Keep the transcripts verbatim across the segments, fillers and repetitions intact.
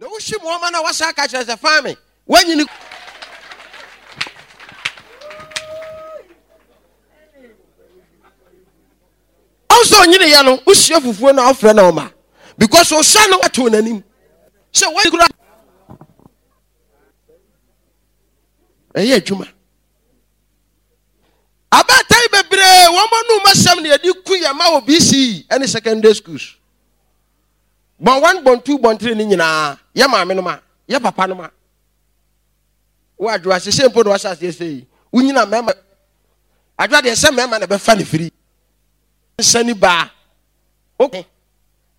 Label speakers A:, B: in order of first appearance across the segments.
A: Na wohye mu ɔma na wasa aka kyerɛ sɛ faa me wanyini. Ɔnso onyini yɛ no wohyia fufuo na ɔfrɛ na ɔma because ɔhyɛ no ato n'anim sɛ wɔn kura ɛyɛ adwuma. Abaatan bebree wɔn anum asɛm na yɛde ku yɛn ma wɔ B C E ɛne secondary schools. Bɔn one, bɔn two, bɔn three ne nyinaa yɛ maame no ma yɛ papa no ma wo adwoa sese mpo na wahyɛ aseɛ sɛ yi wonyina mmarima adwoa deɛ sɛ mmarima na ɛbɛfa ne firi nsani baa wo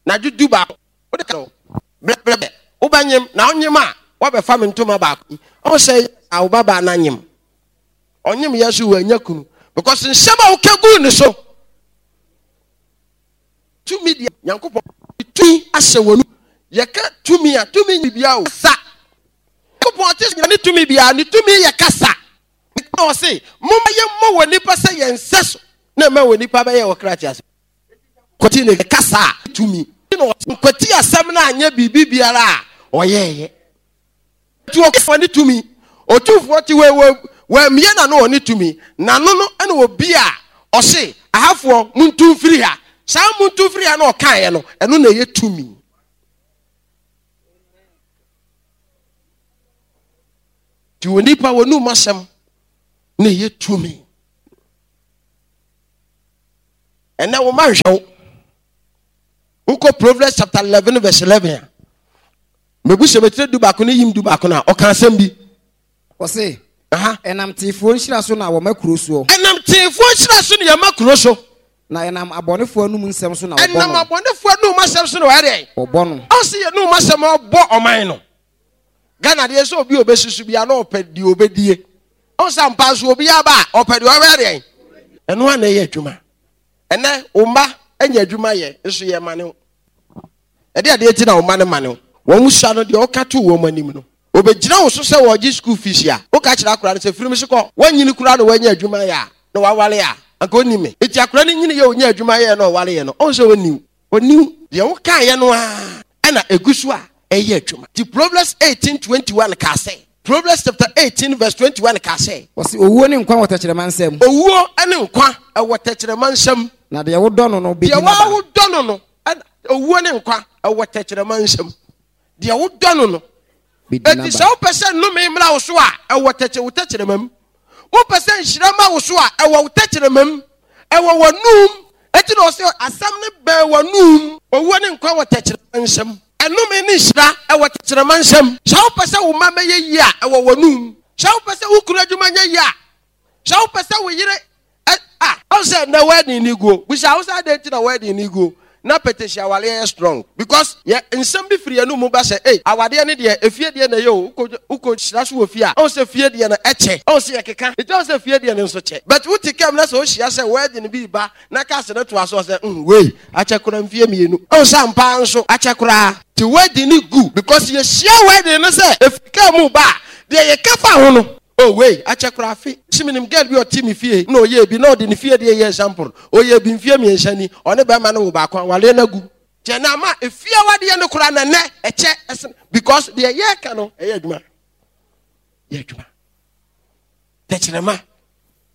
A: na adwo du baako wode ka no brɛbrɛ wobɛnyem na wonyem a wabɛfa me ntoma baako yi ɔmo sɛ a wo babaa na nyem ɔnyem yɛ so wanya kunu because nsɛm a woka guu ne so. Tumi deɛ, Nyankopɔn tumi ahyɛ wɔn mu. Yɛka tumi a, tumi nyɛ biribiara o. Kasa. Nyankopɔn ɔte sɛ ne tumi biara, ne tumi yɛ kasa. Na ɔse, momma yɛmmɔ wɔ nipa sɛ yɛn nsɛ so, na ɛma wɔ nipa bɛyɛ wɔ kra te ase. Kwati ne kasa a tumi. Na ɔse, nkwati asɛm no anyɛ biribi biara a ɔyɛɛyɛ. Nti ɔkasa ne tumi. Otumfoɔ te wei wɔ wɔamie n'ano wɔ ne tumi. N'ano no ɛna obi a ɔse ahafoɔ muntu mfiri ha. Saa muntu mfiri ha na ɔkaeɛ no, ɛno na ɛyɛ tumi. Nti wɔ nipa wɔ num asɛm na ɛyɛ tumi. Ɛnɛ wo ma nhwɛ wo. Wokɔ Proverbs chapter eleven verse eleven a, mebu sɛ bɛtire du baako ne yim du baako no a, ɔka asɛm bi.
B: Ɔse, ɛnam teefoɔ nhyira so na wɔma kuro soɔ.
A: Ɛnam teefoɔ nhyira so na yɛma kuro so.
B: Na ɛnam abɔnefoɔ anum nsɛm so na wɔbɔ no.
A: Ɛnam abɔnefoɔ anum asɛm so na wɔyɛ dɛn?
B: Wɔbɔ no.
A: Ɔse yɛn anum asɛm ɔbɔ ɔman no. Ghana deɛ sɛ obi a ɔbɛsusu bia na ɔpɛ deɛ ɔbɛdie. Ɔsɛ ampa nso obi aba a ɔpɛ deɛ ɔbɛyɛ dɛn? Ɛno a na ɛyɛ adwuma. Ɛnɛ wo mma anya adwuma yɛ nso yɛ ma ne wo. Ɛde adeɛ ti na wo mma no ma ne wo. Wɔn sua no deɛ ɔka to wɔn anim no. Obɛgyina wo so sɛ wɔgye school fees a, woka kyerɛ akora no sɛ firim so kɔ. Wanyini koraa na wanya adwuma yɛ a, na wawale a, anka ɔnni me. Nti akora no nyini yɛ ɔnya adwuma yɛ na ɔwale yɛ no, ɔn sɛ ɔnni wo. Ɔnni wo. Deɛ wokaeɛ no ara ɛna ɛgu so a ɛyɛ adwuma. Nti Proverbs eighteen twenty-one kaa sɛ, Proverbs chapter eighteen verse twenty-one kaa sɛ,
B: Ɔse, owuo ne nkwa wɔ tɛkyerɛma nsam.
A: Owuo ne nkwa ɛwɔ tɛkyerɛma nsam.
B: Na deɛ wodɔ no no bɛdi
A: deɛ
B: n'aba.
A: Wodɔ no no ɛna owuo ne nkwa ɛwɔ tɛkyerɛma nsam. Deɛ wodɔ no no
B: bɛdi
A: eti sɛ
B: n'aba.
A: Wopɛ sɛ nnome mmra wo so a, ɛwɔ tɛkyɛ wo tɛkyerɛma mu. Wopɛ sɛ nhyira ma wo so a, ɛwɔ wo tɛkyerɛma mu, ɛwɔ w'anum. Eti na ɔsɛ asɛm ne bɛn w'anum. Owuo ne nkwa wɔ tɛkyerɛma nsam. Ɛnome ne nhyira ɛwɔ tɛkyerɛma nsam. Sɛ wopɛ sɛ wo mma bɛyɛ yie a, ɛwɔ w'anum. Sɛ wopɛ sɛ wo kunu adwuma nyɛ yie a, sɛ wopɛ sɛ wo yere ɛ a ɔn sɛ nnɛ wedding ni guo, busa wo sɛ adɛn nti na wedding ni guo na pɛtɛsi awareɛ yɛ strong? Because yɛ nsɛm bi firi yɛn mu ba sɛ ei, awadeɛ ne deɛ efie deɛ na ɛyɛ o. Wokɔ wokɔ hyira so wɔ fie a, ɔn sɛ fie deɛ no ɛkyɛ, ɔn sɛ yɛkeka nti ɔn sɛ fie deɛ no nso kyɛ. But wote kam na sɛ ohyia sɛ wedding bi ba na cars no toa so ɔsɛ mm wei akyɛ koraa mfie mmienu, ɔn sɛ ampa nso akyɛ koraa. Te wedding ni gu because yɛhyia wedding no sɛ efiri kaa mu ba a, deɛ yɛka fa ho no, oh, wei akyɛ koraa afe si. Menim girl bi a ɔte me fie na ɔyɛ bi na ɔde ne fie deɛ yɛ example. Ɔyɛ bi mfie mmiɛnsa ni, ɔne bɛrima no wo baako, awareɛ no agu. Kyɛ na ama efie awadeɛ no koraa na nnɛ ɛkyɛ ɛsen because deɛ yɛka no ɛyɛ adwuma, yɛ adwuma. Tɛkyerɛma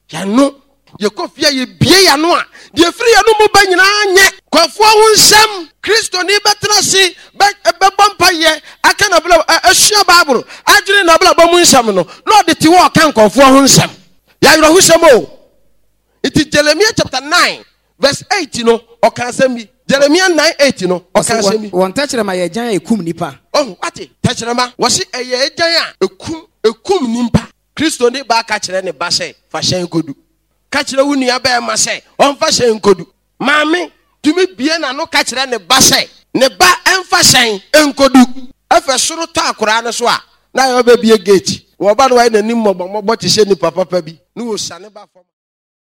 A: yɛno yɛkɔ fie a, yɛbie yɛno a, deɛ firi yɛno mu ba nyinaa nyɛ kɔfoɔ ho nsɛm. Kristoni bɛtena se bɛbɔ mpayɛ aka nabla asua Bible adwene nabrabɔ mu nsɛm no na ɔde te hɔ ɔka nkɔfoɔ ho nsɛm. Yɛawerɛhosɛm o. Nti Jeremia chapter nine verse eight no, ɔka asɛm bi. Jeremia nine eight no, ɔka asɛm bi.
B: Wɔn tɛkyerɛma yɛ agyan a ɛkum nipa.
A: Ɔho wate tɛkyerɛma wɔse ɛyɛ agyan a ɛkum ɛkum nipa. Kristoni baa ka kyerɛ ne ba sɛ fa hyɛn kodu. Ka kyerɛ wo nua bɛrima sɛ ɔmfa hyɛn kodu. Maame tumi bie n'ano ka kyerɛ ne ba sɛ ne ba ɛmfa hyɛn nkodu. Ɛfɛ soro tɔ akoraa no so a, na ayɛ ɔbɛbie gate. Wɔba no wayɛ n'anim mmɔbɔmmɔbɔ te sɛ nipa papa bi na wɔsiane ba fam.